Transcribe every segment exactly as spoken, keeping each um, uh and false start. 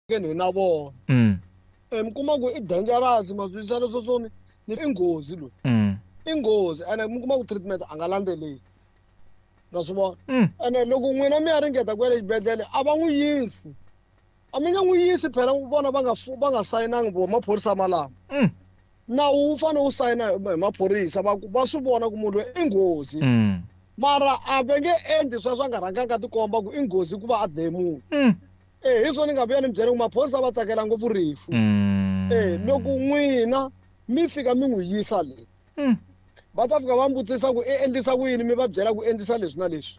Hi na vona. Mm. E mi kuma ku i dangerous, ma swi twisisa leswo swo ni ni i nghozi loyi. Mm. I nghozi ene mi kuma ku treatment a nga landzeleli. Na swi vona. Mm. Ene loko n'wina mi ya ringeta ku ya le xibedhlele a va n'wi yisi. A mi nge n'wi yisi phela vona va nga va nga sayinangi vo maphorisa malama. Mm. Nawu wu fanele wu sayina hi maphorisa va ku va swi vona ku munhu loyi i nghozi. Mm. Mara a va nge endli sweswo a nga rhanganga a tikomba ku i nghozi ku va a dlaye munhu. Mm. Eh hi swona ni nga vuya ni mi byela ku maphorisa va tsakela ngopfu rifu. Mm. Eh loko n'wina mi fika mi n'wi yisa le. Mm. Va ta fika va mi vutisa ku i endlisa ku yini, mi va byela ku endlisa leswi na leswi.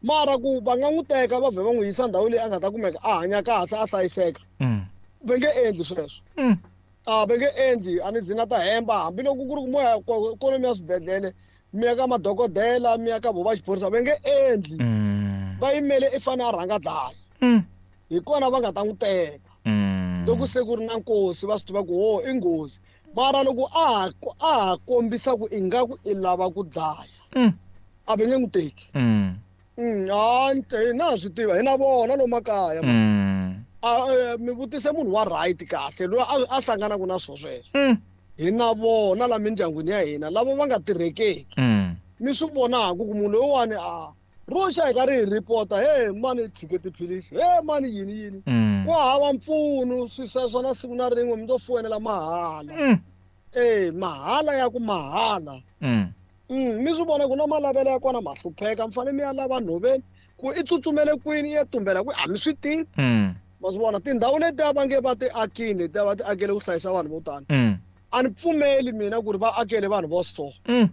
Mara ku va nga n'wi teka va vhe va n'wi yisa ndhawu leyi a nga ta kumeka a hanya kahle a hlayiseka. Mm. Va nge endli sweswo. Mm. A va nge endli, a ni zi na ta hemba hambiloko ku ri ku moya ikhonomi ya swibedhlele mi ya ka madokodela mi ya ka vo va xiphorisa va nge endli. Mm. Va yimele i fane a rhanga dlaya. Mm. Hi kona va nga ta n'wi teka. Mm. Loko se ku ri na nkosi va swi tiva ku ho i nghozi. Mara loko a ha a ha kombisa ku ingaku i lava ku dlaya. Mm. A va nge n'wi teki. Mm. Mm, ha na swi tiva hi na vona lomu makaya. Mm. A mi vutise munhu wa right kahle loyi a a hlanganaka na swo sweswo. Mm. Hi na vona la mindyangwini ya hina lava va nga tirhekeki. Mm. Mi swi vonaka ku munhu loyiwani a ro xa hi karhi hi report-a, hey mani tshike tiphilisi, hey mani yini yini. Mm. Ku hava mpfuno swi sweswo na siku na rin'we mi to foyinela mahala. Mm. Eh mahala ya ku mahala. Mm. Mm, mi swi vona ku na malavelo ya kona ma hlupheka, mi fanele mi ya lava nhoveni ku i tsutsumele kwini i ya tumbela kwihi a mi swi tivi. Mm. Ma swi vona tindhawu letiya va nge va ti akini letiya va ti akele ku hlayisa vanhu vo tani. Mm. A ni pfumeli mina ku ri va akele vanhu vo so. Mm.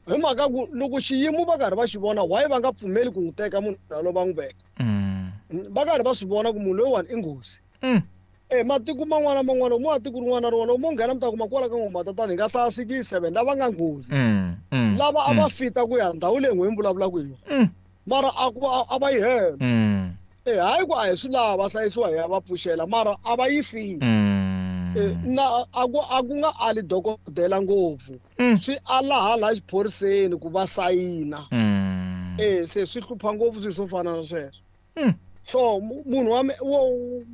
Hi mhaka ku loko xiyimo va karhi va xi vona why va nga pfumeli ku n'wi teka munhu yaloye va n'wi veka. Mm. Va karhi va swi vona ku munhu loyiwani i nghozi. Mm. Eh matiko man'wana na man'wana mo ya tiko rin'wana na rin'wana mo nghena mi ta kuma kwala ka N'wa-Matatani hi nga hlaya six seven lava nga nghozi. Mm. Mm. Lava a va fita ku ya ndhawu leyi n'we mi vulavulaka hi yona. Mm. Mara a ku a va yi hela. Mm. Eh hayi ku a hi swi lava va hlayisiwa hi ya va pfuxela mara a va yisile. Mm. Eh na a ku a ku nga ali dokodela ngopfu. Mm. Swi ala hala xiphoriseni ku va sayina. Mm. Eh se swi hlupha ngopfu swilo swo fana na sweswo. Mm. So munhu wa wa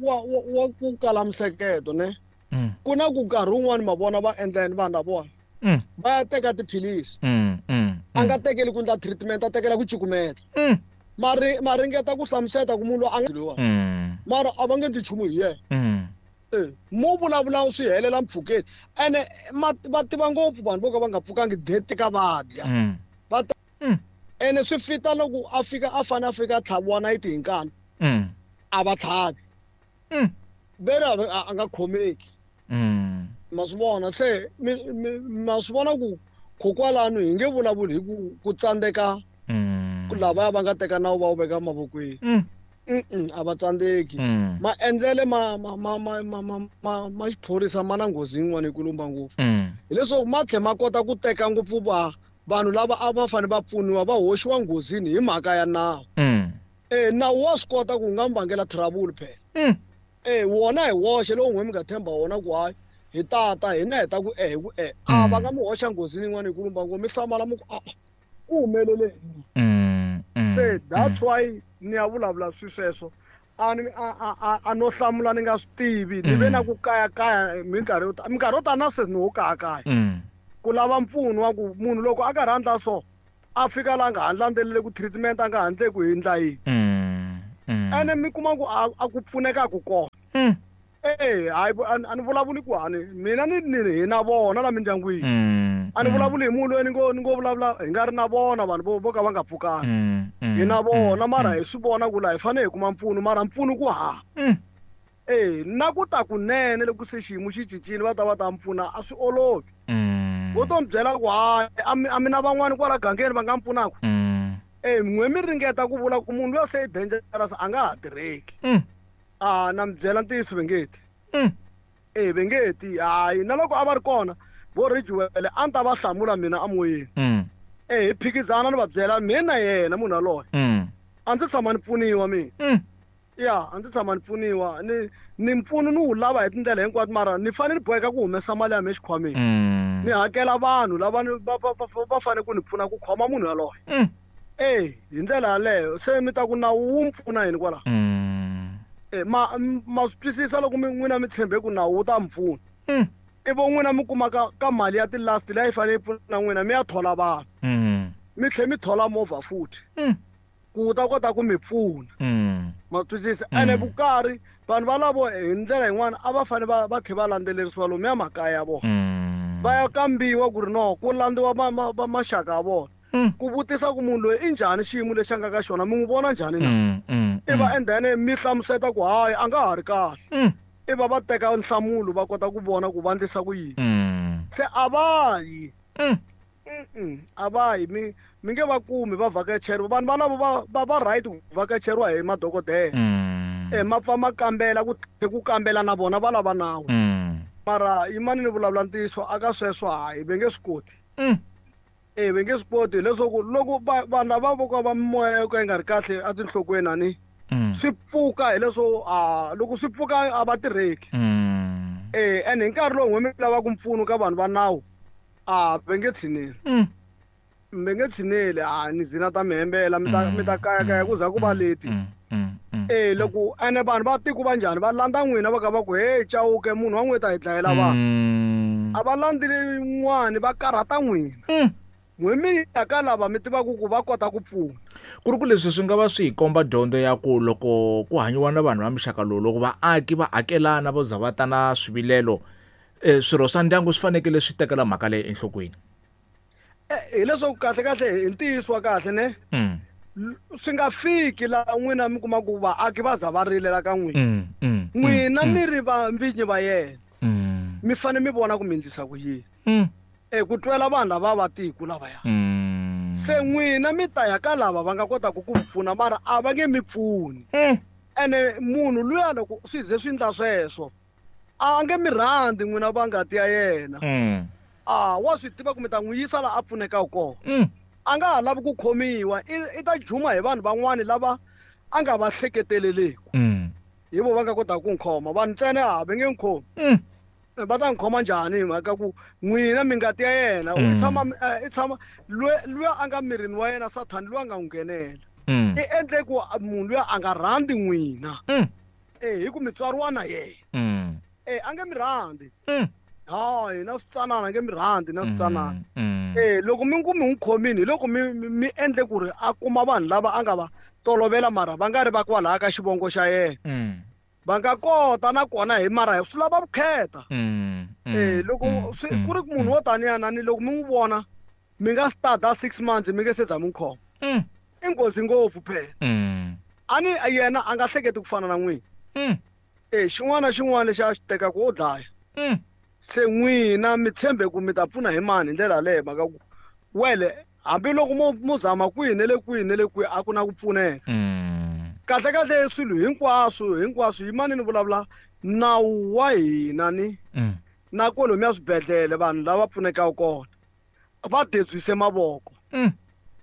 wa wa ku kala mihleketo ne. Mm. Ku na ku nkarhi wun'wani ma vona va endla yini vanhu lavawani. Mm. Va ya teka tiphilisi. Mm. Mm. A nga tekeli ku endla treatment a tekela ku cukumeta. Mm. Mari ma ringeta ku hlamusela ku munhu loyi a nga loyiwani. Mm. Mara a va nge endli nchumu hi yena. Mm. Eh mo vulavula swi helela mpfhukeni ene va tiva ngopfu vanhu vo ka va nga pfukangi date ka va dya. Mm. Va ta Mm. ene swi fita loko a fika a fane a fika a tlhaviwa nayiti hi nkani. Mm. A va tlhavi. Mm. Veri a nga khomeki. Mm. Ma swi vona se mi ma swi vona ku kokwalano hi nge vulavuli hi ku ku tsandzeka Mm. ku lavaya va nga teka nawu va wu veka mavokweni. Mm. Mm a va tsandzeki. Mm. Maendlele ma ma ma ma ma ma ma ma xiphorisa ma na nghozi yin'wana yikulukumba ngopfu. Mm. Hileswaku ma tlhela ma kota ku teka ngopfu va vanhu lava a va fanele va pfuniwa va hoxiwa nghozini hi mhaka ya nawu. Mm. Eh nawu wa swi kota ku nga mi vangela trouble phela. Mm. Eh wona hi woxe lowu n'we mi nga tshemba wona ku hayi hi tata hina hi ta ku eh hi ku eh a va nga mi hoxa nghozini yin'wana yikulukumba ngopfu mi hlamala mi ku a ku humelele yini. Mm. Mm. Se that's why ni ya vulavula swi sweswo a ni a a a no hlamula ni nga swi tivi ni ve na ku kayakaya minkarhi yo tala minkarhi yo tala na sweswi ni wo kayakaya. Mm. Ku lava mpfuno wa ku munhu loko a karhi a endla so a fika la nga ha landzeleli ku treatment a nga ha endleki hi ndla yini. Mm. Mm. Ene mi kuma ku a a ku pfuneka ku kona. Mm. Eh hayi a ni vulavuli ku hani mina ni ni hi na vona la mindyangwini. Mm. A ni vulavuli hi munhu loyi ni ngo ni ngo vulavula hi nga ri na vona vanhu vo vo ka va nga pfukanga. Mm. Mm. Hi na vona mara hi swi vona ku la hi fanele hi kuma mpfuno mara mpfuno ku hava. Mm. Eh na ku ta kunene loko se xiyimo xi cincile va ta va ta mpfuna a swi olovi. Mm. Vo to mi byela ku hayi a mi a mi na van'wani kwala gangeni va nga mi pfunaka. Mm. Eh n'we mi ringeta ku vula ku munhu luya se i dangerous a nga ha tirheki. Mm. A na mi byela ntiyiso va nge ti. Mm. Eh va nge ti hayi na loko a va ri kona vo Ridgewell a ni ta va hlamula mina emoyeni. Mm. Eh hi phikizana ni va byela mina na yena munhu yaloye. Mm. A ndzi tshama ni pfuniwa mina. Mm. Ya a ndzi tshama ni pfuniwa ni ni mpfuno ni wu lava hi tindlela hinkwato mara ni fanele ni boheka ku humesa mali ya mina exikhwameni. Mm. Ni hakela vanhu lava ni va va va va fanele ku ni pfuna ku khoma munhu yaloye. Mm. Eh hi ndlela yaleyo se mi ta ku nawu wu mi pfuna yini kwala. Mm. E ma ma swi twisisa loko mi n'wina mi tshembe ku nawu wu ta mi pfuna. Mm. Ivo n'wina mi kuma ka ka mali ya ti-last leyi a yi fanele yi pfuna n'wina mi ya thola vanhu. Mm. Mi tlhe mi thola movha futhi. Mm. Ku wu ta kota ku mi pfuna. Mm. Ma twisisa? Mm. Ene vukari vanhu valavo hi ndlela yin'wana a va fanele va va tlhe va landzelerisiwa lomuya makaya ya vona. Mm. Va ya kambiwa ku ri no ku landziwa ma, ma, ma maxaka ya vona. Mm. Ku vutisa ku munhu loyi i njhani xiyimo lexi a nga ka xona mi n'wi vona njhani na? Mm, mm, I va mm. and then mi hlamuseta ku hayi a nga ha ri kahle. Mm. I va va teka nhlamulo va kota ku vona ku va endlisa ku yini. Mm. Se a va yi. Mm. Mm-mm, a va yi mi mi nge va kumi va vhakacheriwa vanhu valavo va va va right ku vhakacheriwa hi madokodela. Mm. E ma pfa ma kambela ku tlhe ku kambela na vona va lava nawu. Mm. Mara yimani ni vulavula ntiyiso aka sweswo hayi va nge swi koti. Mm. E va nge swi koti leswaku loko va vanhu lava vo ka va mimoya yo ka yi nga ri kahle etinhlokweni a ni Mm. swi pfuka hileswo a loko swi pfuka a va tirheki. Mm. E ene hi nkarhi lowu n'we mi lavaka mpfuno ka vanhu va nawu a va nge tshineli. Mm. Mi nge tshineli a ni zina ta mi hembela mi ta mi ta kayakaya ku za ku va leti. Mm, mm, mm. E loko ene vanhu va tiko va njhani va landza n'wina va ka va ku hey Chauke munhu wa n'wina ta hi dlayela vanhu. Mm. A va landzeli n'wani va karhata n'wina. Mm. N'we mi ya ka lava mi tivaka ku va kota ku pfuna. Ku ri ku leswi swi nga va swi hi komba dyondzo ya ku loko ku hanyiwa na vanhu va muxaka lowu loko vaaki va akelana vo za va ta na swivilelo eh, swirho swa ndyangu swi fanekele swi tekela mhaka leyi enhlokweni. E hileswaku kahle kahle hi ntiyiso wa kahle ne Mm. swi nga fiki laha n'wina mi kuma ku vaaki va za va rilela ka n'wina. Mm, mm, N'wina mm, mi ri va vinyi va yena. Mm. Mi fanele mi vona ku mi endlisa ku yini. Mm. E ku twela vanhu lava va tiko lavaya. Mm. Se n'wina mi ta ya ka lava va nga kotaka ku mi pfuna mara a va nge mi pfuni. Mm. Ene munhu luya loko swi ze swi endla sweswo a nge mi rhandzi n'wina va ngati ya yena. Mm. A wa swi tiva ku mi ta n'wi yisa laha a pfunekaka kona. Mm. A nga ha lavi ku khomiwa i, i ta juma hi vanhu van'wani lava a nga va hleketeleleki. Mm. Hi vo va nga kotaka ku n'wi khoma vanhu ntsena a va nge n'wi khomi. Mm. Va ta n'wi khoma njhani hi mhaka ku n'wina mi ngati ya yena Mm. i tshama i tshama luya a nga mirini wa yena Sathani luya a nga n'wi nghenela. Mm. I endle ku munhu luya a nga rhandzi n'wina. Mm. E hi ku mi tswariwa na yena. Mm. E a nge mi rhandzi. Mm. Hayi na switsanana a nge mi rhandzi na switsanana. Mm. E loko mi ku mi n'wi khomini hi loko mi mi endle ku ri a kuma vanhu lava a nga va tolovela mara va nga ri va kwalaya ka xivongo xa yena. Mm. Va nga kota na kona hi mara swi lava vukheta. Mm. E loko swi ku ri munhu wo taniya ni loko mi n'wi vona mi nga start six months mi nge se za mi n'wi khoma. Mm. I nghozi ngopfu phela. Mm. A ni yena a nga hleketi ku fana na n'wina. Mm. E xin'wana na xin'wana lexi a xi tekaka wo dlaya. Mm. Se n'wina mi tshembe ku mi ta pfuna hi mani hi ndlela yaleyo mhaka ku wele hambiloko mo mo zama kwihi na le kwihi na le kwihi a ku na ku pfuneka. Mm. Kahle kahle swilo hinkwaswo hinkwaswo yimani ni vulavula nawu wa hina ni Mm. na kwalomuya swibedhlele vanhu lava pfunekaka kona va debyise mavoko. Mm.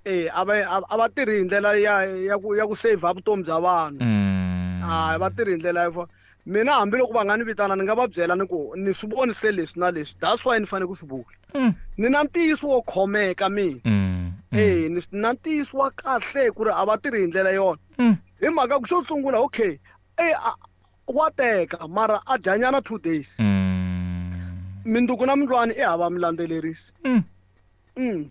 E a va a va tirhi hi ndlela ya ya ku ya ku save vutomi bya vanhu. Mm. A va tirhi hi ndlela yo mina hambiloko va nga ni vitana ni nga va byela ni ku ni swi voni se leswi na leswi that's why ni fanele ku swi vula. Mm. Ni na ntiyiso wo khomeka mina. Mm. E ni na ntiyiso wa kahle ku ri a va tirhi hi ndlela yona. Mm. Hi mhaka ku xo sungula okay e wa teka mara a dyanyana two days. Mm. Minduku na mindlwani i hava mi landzelerisi. Mm. Mm.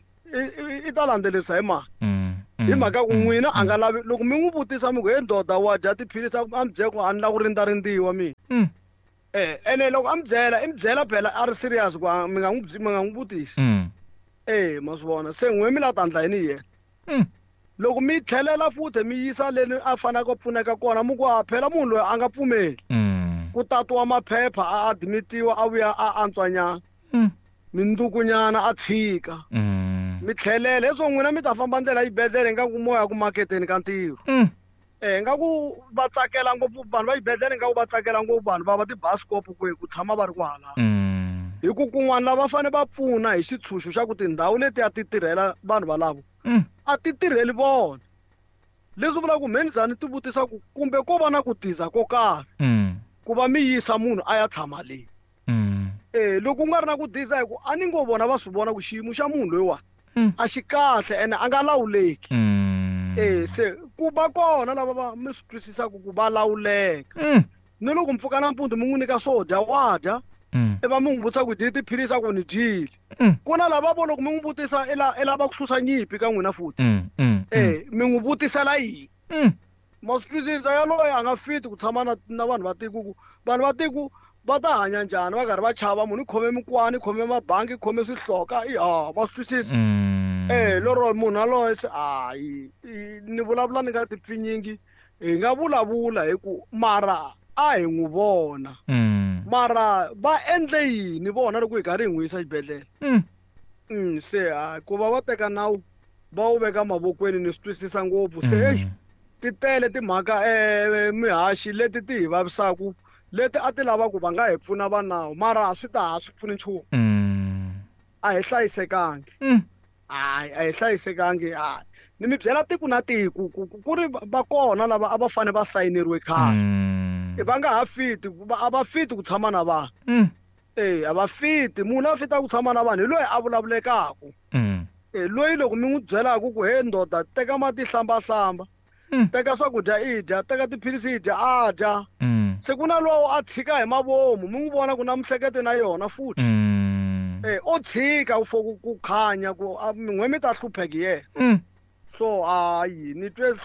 I ta landzelerisa hi mani. Mm. Hi mhaka ku n'wina a nga lavi loko mi n'wi vutisa mi ku he ndoda wa dya tiphilisi a mi byela ku a ni lava ku rindzarindziwa mina. Mm. Eh ene loko a mi byela i mi byela phela a ri serious ku mi nga n'wi mi nga n'wi vutisi. Mm. Eh ma swi vona se n'we mi la ta endla yini hi yena. Mm. Loko mi tlhelela futhi mi yisa leni a faneleke ku pfuneka kona mi ku a phela munhu loyi a nga pfumeli. Mm. Ku tatiwa maphepha a admitiwa a vuya a antswanyana. Mm. Mindukunyana a tshika. Mm. Mi tlhelela leswo n'wina mi ta famba ndlela yibedhlele ingaku moya ku maketeni ka ntirho. Mm. Eh ingaku va tsakela ngopfu vanhu va xibedhlele ingaku va tsakela ngopfu vanhu va va tibasikop ku ku tshama va ri kwala. Mm. Hi ku kun'wana lava fanele va pfuna hi xitshunxo xa ku tindhawu leti a ti tirhela vanhu valavo. Mm. A ti tirheli vona. Leswi vulaka ku mhe ni ti vutisa ku kumbe ko va na ku tiza ko karhi. Mm. Ku va mi yisa munhu a ya tshama le. Mm. Eh loko ku nga ri na ku diza hi ku a ni ngo vona va swi vona ku xiyimo xa munhu loyiwani Mm. a xi kahle ene a nga lawuleki. Mm. Eh se ku va kona lava va mi swi twisisaka ku va lawuleka. Mm. Ni loko mpfuka nampundzu mi n'wi nyika swo dya wa dya. Mm. I va mi n'wi vutisa ku dyile tiphilisi a ku ni dyile. Mm. Ku na lava vo loko mi n'wi vutisa i la i lava ku susa nyimpi ka n'wina futhi. Mm. Mm. Eh mi n'wi vutisela yini? Mm. Ma swi twisisa yaloye a nga fiti ku tshama na na vanhu va tiko ku vanhu va tiko va ta hanya njhani va karhi va chava munhu i khome mikwani i khome mabangi i khome swihloka i ha ma swi twisisa. Mm. Eh lero munhu yaloye se hayi ni vulavula ni nga ti pfinyingi hi nga vulavula hi ku mara a hi n'wi vona. Mm. Mara va endle yini vona loko hi karhi hi n'wi yisa xibedhlele? Mm. Mm, se ha ku va va teka nawu va wu veka mavokweni ni swi twisisa ngopfu se Mm. eish ti tele timhaka eh mihaxi leti ti hi vavisaku leti a ti lava ku va nga hi pfuna va nawu mara swi ta ha swi pfuni nchumu. Mm. A hi hlayisekangi. Mm. Hayi a hi hlayisekangi hayi ni mi byela tiko na tiko ku ku ri va kona lava a va fanele va sayineriwe khale. Mm. Va nga ha fiti a va fiti ku tshama na vanhu. Mm. Eh a va fiti munhu a fitaka ku tshama na vanhu hi loyi a vulavulekaka. Mm. Eh loyi loko mi n'wi byelaka ku he ndoda teka mati hlamba hlamba. Mm. Teka swakudya i dya teka tiphilisi i dya a dya. Mm. Se ku na lowo a tshika hi mavomu mi n'wi vona ku na mihleketo na yona futhi. Mm. Eh o tshika for ku ku khanya ku n'we mi ta hlupheka yena. Mm. So hayi ni twe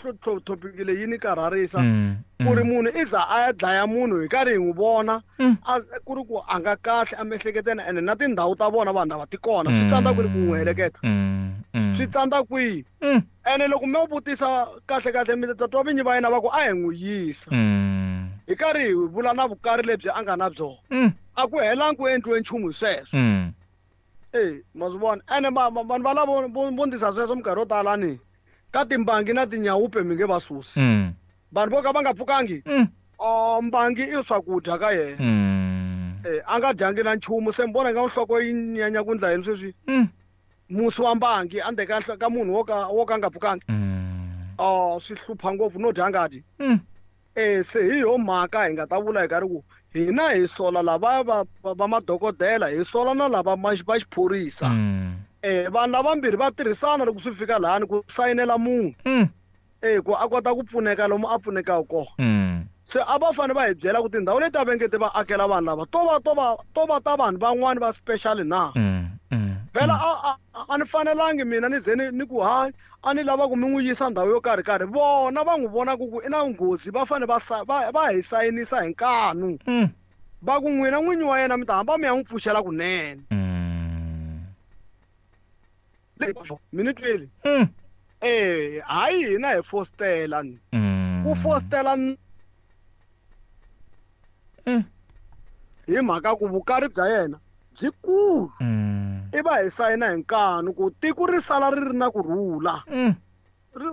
topic leyi ni karharisa. Mm. Ku ri munhu i za a ya dlaya munhu hi karhi hi n'wi vona Mm. a ku ri ku a nga kahle emiehleketweni ene na tindhawu ta vona vanhu lava ti kona swi tsandza ku ri ku n'wi heleketa. Mm. Mm. Swi tsandza kwihi? Mm. Ene loko mi vutisa kahle kahle mi ta twa vinyi va yena va ku a hi n'wi yisa. Mm. Hi karhi hi vula na vukari lebyi a nga na byona. Mm. A ku helangi ku endliwe nchumu hi sweswo. Mm. Eh ma swi vona ene vanhu va lavo vo ndisa sweswo minkarhi yo tala ni ka timbangi na tinyawupe mi nge va susi. Mm. Vanhu vo ka va nga pfukangi Mm. oh mbangi i swakudya ka yena. Mm. Eh a nga dyangi na nchumu se mi vona nga nhloko yi nyanya ku ndla yini sweswi. Mm. Musi wa mbangi ande ka ka munhu wo ka wo ka nga pfukangi. Mm. Oh swi hlupha ngopfu no dya ngati. Mm. Eh se hi yo mhaka hi nga ta vula hi karhi ku hina hi sola lava va va madokodela hi sola na lava va xiphorisa. Mm. Eh vanhu lavambirhi va tirhisana loko swi fika lahani ku sayinela munhu. Mm. Eh ku a kota ku pfuneka lomu a pfunekaka kona. Mm. Se a va fanele va hi byela ku tindhawu leti a va nge ti va akela vanhu lava to va to va to va ta vanhu van'wani va special na. Mm. Mm. Phela a a ni fanelangi mina ni ze ni ni ku hayi a ni lava ku mi n'wi yisa ndhawu yo karhi karhi vona va n'wi vona ku ku i na nghozi va fanele va va va hi sayinisa hi nkanu. Mm. Va ku n'wina n'winyi wa yena mi ta hamba mi ya n'wi pfuxela kunene. Mm. Mi ni twile? Mm. Eh hayi hina hi fostela ni. Mm. Ku fostela Mm. hi mhaka ku vukari bya yena byi kulu. Mm. I va hi sayina hi nkanu ku tiko ri sala ri ri na kurhula. Mm.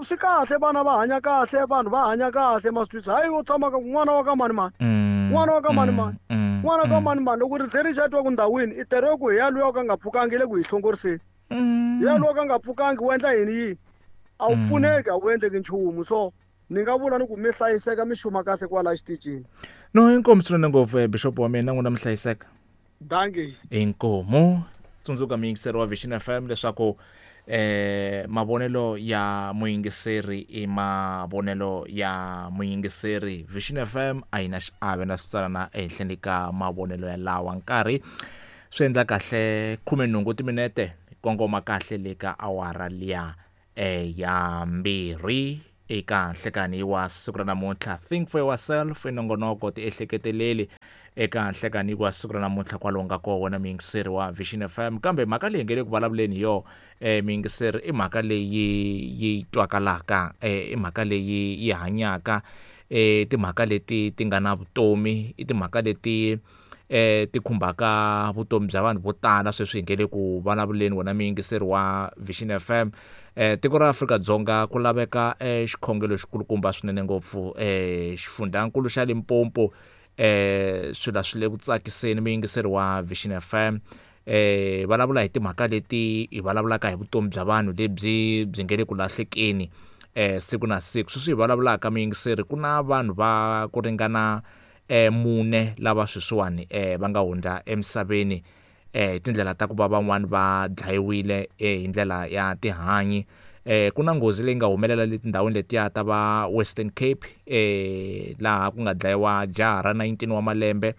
Swi kahle vana va hanya kahle vanhu va hanya kahle ma swi twisisa hayi wo tshama ka n'wana wa ka mani mani. Mm. N'wana wa ka mani mani. Mm. N'wana wa ka mani mani loko ri ze ri xa twa ku ndhawini i tere ku hi ya luya ka nga pfukangi le ku hi hlongoriseni. Mm. Hi ya luya ka nga pfukangi wu endla yini yini? A wu pfuneki a wu endleki nchumu so ni nga vula ni ku mi hlayiseka mi xuma kahle kwala xitichini. No inkomu swinene ngopfu bishop wa mina n'wina mi hlayiseka. Dankie. Inkomu tsundzuka muyingiseri wa Vision F M leswaku eh mavonelo ya muyingiseri i mavonelo ya muyingiseri. Vision F M a yi na xiave na switsalana ehenhleni ka mavonelo ya lawa nkarhi swi endla kahle khume nhungu timinete kongoma kahle le ka awara liya eh ya mbirhi eka nhlekani wa siku ra namuntlha. Think for yourself inongonoko ti ehleketeleli eka nhlekani wa siku ra namuntlha kwalomu ka kona wena muyingiseri wa Vision F M. Kambe mhaka leyi nge le ku vulavuleni yo eh muyingiseri i mhaka leyi yi twakalaka eh i mhaka leyi yi hanyaka eh timhaka leti ti nga na vutomi i timhaka leti eh ti khumbaka vutomi bya vanhu vo tala sweswi hi nge le ku vulavuleni wena muyingiseri wa Vision F M. Eh tiko ra Afrika-Dzonga ku laveka eh xikhongelo xikulukumba swinene ngopfu eh xifundzankulu xa Limpopo eh swilo swi le ku tsakiseni muyingiseri wa Vision F M. Eh vulavula hi timhaka leti hi vulavulaka hi vutomi bya vanhu lebyi byi nge le ku lahlekeni eh siku na siku. Sweswi hi vulavulaka muyingiseri ku na vanhu va ku ringana eh mune lava sweswiwani eh va nga hundza emisaveni eh tindlela ta ku va van'wani va dlayiwile eh hi ndlela ya tihanyi Eh ku na nghozi leyi nga humelela le tindhawini letiya ta va Western Cape eh laha ku nga dlayiwa jaha ra nineteen wa malembe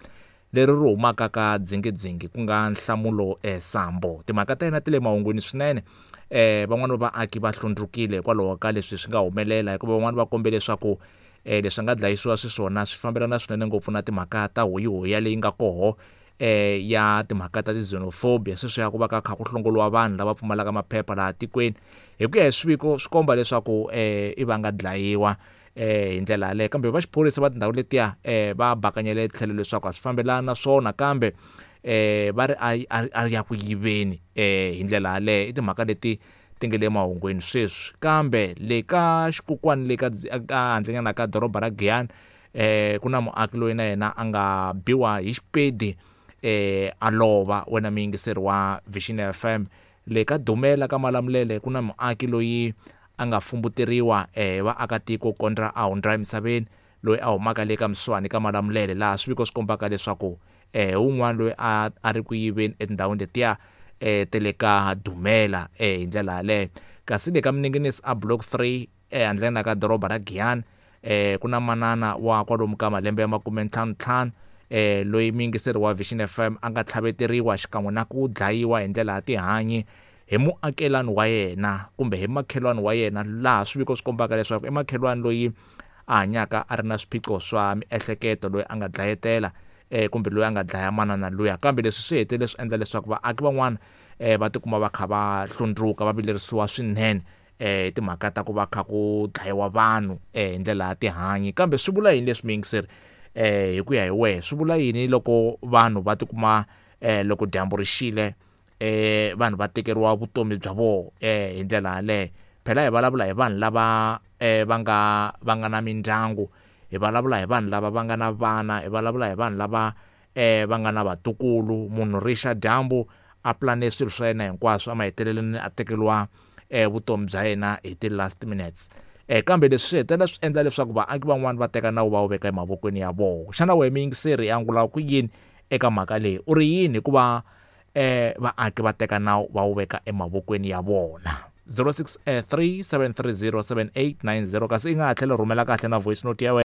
leri ri humaka ka dzingidzingi ku nga Nhlamulo eh, Sambo. Timhaka ta yena ti le mahungwini swinene. Eh van'wani va vaaki va hlundzukile hikwalaho ka leswi swi nga humelela, hikuva van'wani va kombe leswaku eh leswi nga dlayisiwa swiswona swi fambelana swinene ngopfu na timhaka ta hoyihoya leyi nga koho eh ya timhaka ta ti-xenophobia, sweswi ya ku va ka kha ku hlongoliwa vanhu lava pfumalaka maphepha laha tikweni. Hi ku ya hi swiviko swi komba leswaku eh i va nga dlayiwa eh hi ndlela yaleyo, kambe va xiphorisa va tindhawu letiya eh va bakanyele tlhelo leswaku a swi fambelani na swona, kambe eh va ri a a ya ku yiveni eh hi ndlela yaleyo. I timhaka leti ti nga le mahungwini sweswi. Kambe le ka xikokwani le ka ka handlenyana ka doroba ra Giyani eh ku na muaki loyi na yena a nga biwa hi xipedi eh a lova. Wena muyingiseri wa Vision F M, le ka Dumela ka Malamulele ku na muaki loyi a nga fumbuteriwa eh vaakatiko kondra a hundza emisaveni, loyi a humaka le ka Mswani ka Malamulele, laha swiviko swi kombaka leswaku eh un'wana loyi a a ri ku yiveni etindhawini letiya eh te le ka Dumela eh hi ndlela yaleyo. Kasi le ka Minengenisi a Block three eh handleni ka doroba ra Giyani eh ku na manana wa kwalomu ka malembe ya makume ntlhanu ntlhanu eh loyi muyingiseri wa Vision F M a nga tlhaveteriwa xikan'we na ku dlayiwa hi ndlela ya tihanyi hi muakelani wa yena kumbe hi makhelwani wa yena, laha swiviko swi kombaka leswaku i makhelwani loyi a hanyaka a ri na swiphiqo swa miehleketo, loyi a nga dlayetela eh kumbe loyi a nga dlaya manana luya. Kambe leswi swi hetelele swi endla leswaku vaaki van'wana eh va tikuma va kha va hlundzuka, va vilerisiwa swinene eh timhaka ta ku va kha ku dlayiwa vanhu eh hi ndlela ya tihanyi. Kambe swi vula yini leswi muyingiseri eh hi ku ya hi wehe, swi vula yini loko vanhu va tikuma eh loko dyambu ri xile eh vanhu va tekeriwa vutomi bya vona eh hi ndlela yaleyo? Phela hi vulavula hi vanhu lava eh va nga va nga na mindyangu, hi vulavula hi vanhu lava va nga na vana, hi vulavula hi vanhu lava eh va nga na vatukulu. Munhu rixa dyambu a plane swilo swa yena hinkwaswo, a mahetelelweni a tekeriwa eh vutomi bya yena hi ti last minutes. Eh kambe leswi swi hetelela swi endla leswaku vaaki van'wani va teka nawu va wu veka emavokweni ya vona. Xana wena muyingiseri ya angula ku yini eka mhaka leyi? U ri yini hikuva eh vaaki va teka nawu va wu veka emavokweni ya vona? zero six three seven three zero seven eight nine zero. Kasi i nga ha tlhela rhumela kahle na voice note ya wena.